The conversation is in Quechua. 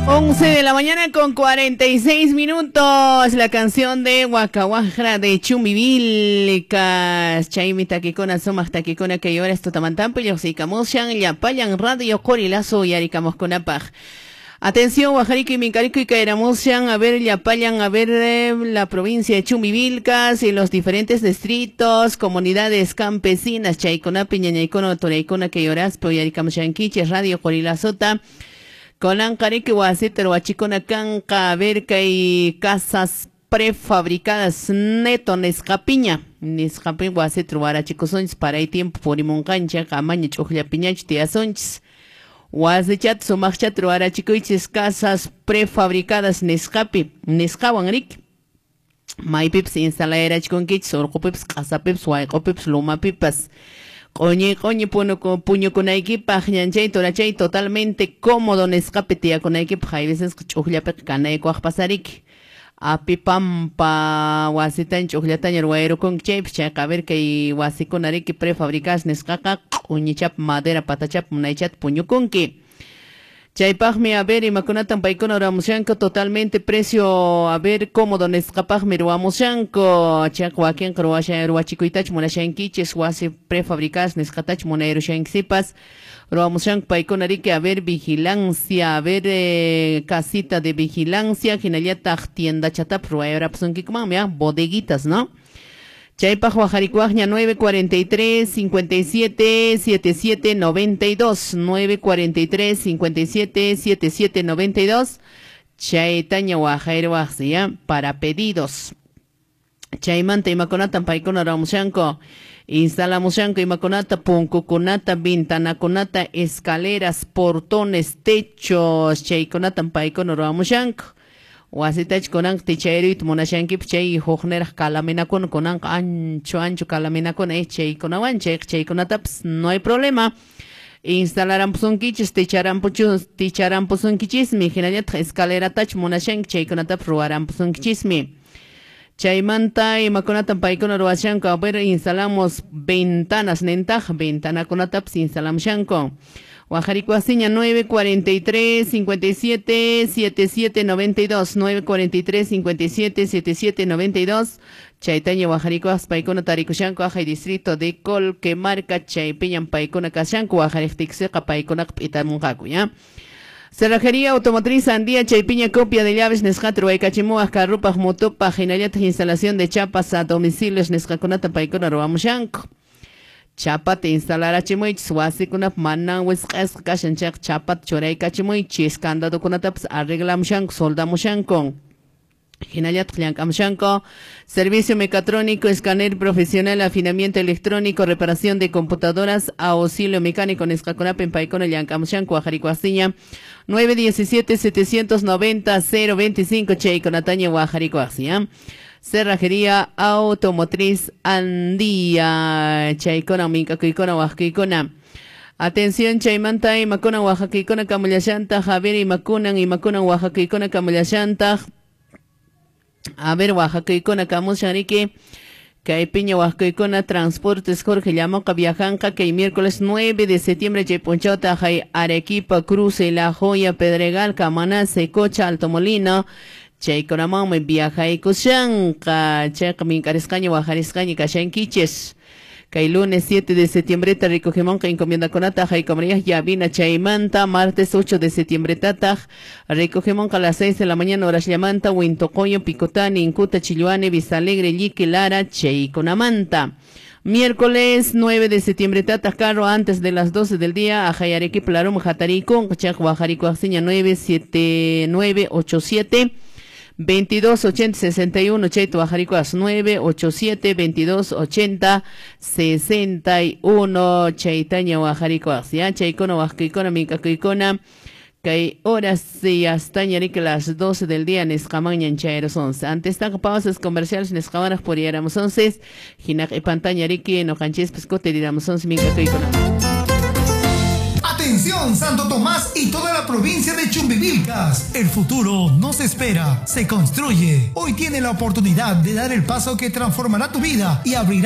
11 de la mañana con 46 minutos. La canción de Huacahuajra de Chumbivilcas. Chaymi takikuna, sumaq takikuna kay horas tutamantampi lluqsiykamushan llapallan radio Qorilazo uyarikamuqkunapaq. Atención, Guajarico y Mincarico y Caeramushan, a ver, llapallan, a ver la provincia de Chumbivilcas y los diferentes distritos, comunidades campesinas, Chayconapi, Ñañaycono, Toraicona, Cayoraspo, Uyarikamushankichis, Radio Qorilazota. Konanqariki wasita ruwachikuna kanqa, a ver kay casas prefabricadas neto nisqapiña, nisqapi wasita ruwarachikusunchis paray tiempo purimunqanchik, amaña ch'uqllapiñachu tiyasunchis. Wasichat sumaqchat ruwarachikuychis casas prefabricadas nisqapi, nisqawan riki. Maypipas instalayarachikunkichis, urqupipas, q'asapipas, wayq'upipas, lumapipas. Q'uñi q'uñi puñukunaykipaq ñanchay turachay totalmente cómodo nisqapi tiyakunaykipaq, hay veces ch'uqllapiqa kanaykuwaqpas ariki. Apipampa wasitaña ch'uqllataña ruwayrukunki chaypas, chayqa a ver kay wasikuna riki prefabricadas nisqaqa q'uñichap madera patachap munaychata puñukunki. Chaypaqmi a ver imakunatan paykuna ruwamushanku totalmente precio a ver cómodo nisqapaqmi ruwamushanku. Chayqa wakinqa ruwachikuytachu munashankichis wasi prefabricadas nisqatachu munayrushankisipas ruwamushanku paykuna riki a ver vigilancia, a ver casita de vigilancia, hinallataq tiendachatapas ruwayarapusunkikumanmi, bodeguitas, ¿no? Chaypaq wajarikuwaqña 943 57 77 92, 943 57 77 92, chaytaña wajayruwaqsi, ¿ya? Para pedidos. Chaymanta imakunatan paykuna ruwamushanku, instalamushanku imakunata, punkukunata, ventanakunata, escaleras, portones, techos, chaykunatan paykuna ruwamushanku. Wasitach kunanqa tichayruyta munashankipas chay hukniraq kalaminakuna kunanqa ancho ancho kalaminakuna chaykunawan chayqa chaykunatapas no hay problema. Instalarampusunkichis, ticharampusunkichismi, hinallataq escaleratachu munashanki chaykunatapas ruwarampusunkichismi. Chaymanta imakunatan paykuna ruwashanku, a ver, instalamos ventanas nentaq, ventanakunatapas instalamushanku. Guajarikuasiña 943 57 77 92, 943 57 77 92. Chaytaña Guajarikuas paykuna tarikushanku ajay distrito de Colquemarca, chaypiñan paykuna kashanku, Guajariqtiksiqa paykunaqa p'itamunqaku, ¿ya? Cerrajería Automotriz Andía, chaypiña copia de llaves nisqata ruwaykachimuwaq carrupaq, motopaq, hinallataq instalación de chapas a domicilios nisqakunata paykuna ruwamushanku. Chapata instalarachimuychis wasikunap manan wisq'asqa kashan chayqa chapata churaykachimuychis, candadokunatapas arreglamushanku, soldamushanku. Hinallataq llank'amushanku. Servicio mecatrónico, escáner profesional, afinamiento electrónico, reparación de computadoras, auxilio mecánico nisqakunapin paykuna llank'amushanku, Guajarikuasiña 917 790 025, chaykunataña Guajarikuasiña. Cerrajería Automotriz Andía, chaykuna minkakuykuna waqkuykuna. Atención, chaymanta imakuna waqakuykuna kamullashantaq, a ver imakunan imakunan waqakuykuna kamullashantaq. A ver waqakuykuna kamushan riki. Kay piña waqkuykuna Transportes Jorge Llamoqa viajanqa kay miércoles 9 de septiembre chay p'unchawta hay Arequipa, Cruce, La Joya, Pedregal, Camaná, Secocha, Alto Molino. Chaykunamanmi viajaykushanqa, chayqa minkarisqaña wajarisqaña kashankichis. Kay lunes 7 de septiembre recogemonqa encomiendakunata haykamariaj llavina chaymanta, martes 8 de septiembre tataq recogemonqa a las 6 de la mañana horasllamanta, Huintocoyo, Picotani, Incuta, Chilluane, Vista Alegre, Llique, Lara, chaykunamanta. Miércoles 9 de septiembre tataq carro antes de las 12 del día a Arequipa, Larum, Jataricón, Chaq, Guajarico, Axiña 97987 22 80 61, chayta Guajarikuas 987 22 80 61, chaytaña Guajarikuas, ya chaykuna waqkuykuna minkakuykuna kay horas y hasta ñariki las 12 del día nisqamanñan chayros 11. Antes taqa pausas comerciales nisqamanaq puriyaramos 11, hinaq ipantaña riki noqanchispas kutiriramos 11 minkakuykuna. Atención, Santo Tomás y toda la provincia de Chumbivilcas. El futuro no se espera, se construye. Hoy tiene la oportunidad de dar el paso que transformará tu vida y abrirá